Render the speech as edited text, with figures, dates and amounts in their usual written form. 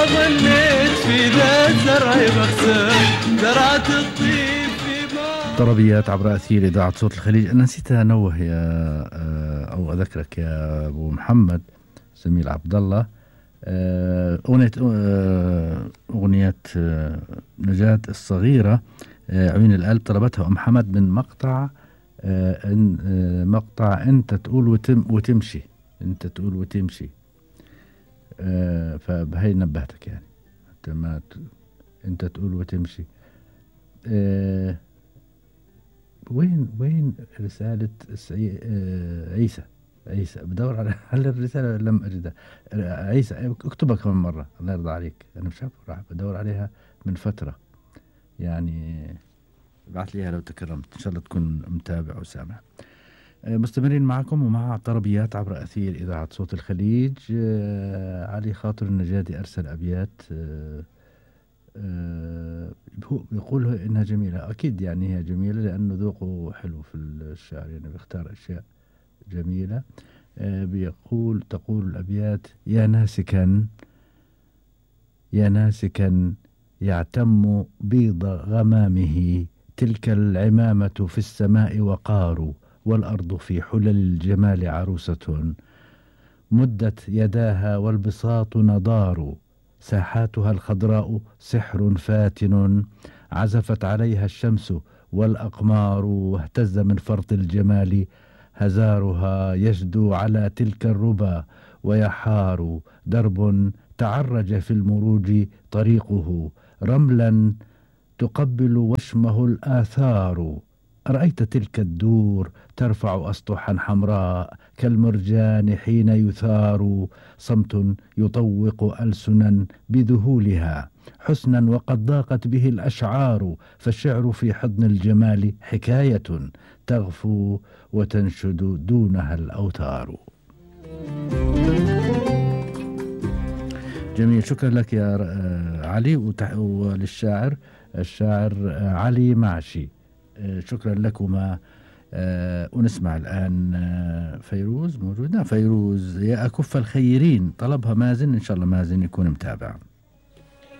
ظنيت في ذا الزرع مخزن زرعت الطيب في ما. طربيات عبر أثير إذاعة صوت الخليج. أنا نسيت أنوه يا أو أذكرك يا أبو محمد زميل عبد الله، أغنية نجاة الصغيرة عيون القلب طلبتها أم حمد من مقطع مقطع أنت تقول وتمشي، أنت تقول وتمشي. فبهي نبهتك يعني أنت تقول وتمشي. وين رسالة عيسى بدور على الرسالة لم أجدها. عيسى اكتبها كمان مرة الله يرضى عليك، أنا مش عارف راح بدور عليها من فترة يعني، ابعث ليها لو تكرمت إن شاء الله تكون متابع وسامع. مستمرين معكم ومع طربيات عبر أثير إذاعة صوت الخليج. علي خاطر النجادي أرسل أبيات يقول إنها جميلة. أكيد يعني هي جميلة لأنه ذوقه حلو في الشعر، يعني بيختار أشياء جميلة. تقول الأبيات: يا ناسكا يعتم بيض غمامه، تلك العمامة في السماء وقار، والأرض في حلل الجمال عروسة، مدت يداها والبساط نضار، ساحاتها الخضراء سحر فاتن، عزفت عليها الشمس والأقمار، واهتز من فرط الجمال هزارها، يجدو على تلك الربا ويحار، درب تعرج في المروج طريقه، رملا تقبل وشمه الآثار، أرأيت تلك الدور ترفع أسطحا حمراء كالمرجان حين يثار، صمت يطوق ألسنا بذهولها حسنا وقد ضاقت به الأشعار، فالشعر في حضن الجمال حكاية تغفو وتنشد دونها الأوتار. جميل، شكرا لك يا علي، وللشاعر الشاعر علي معشي شكرا لكما. ونسمع الآن فيروز موجودة. فيروز يا أكف الخيرين طلبها مازن، إن شاء الله مازن يكون متابع.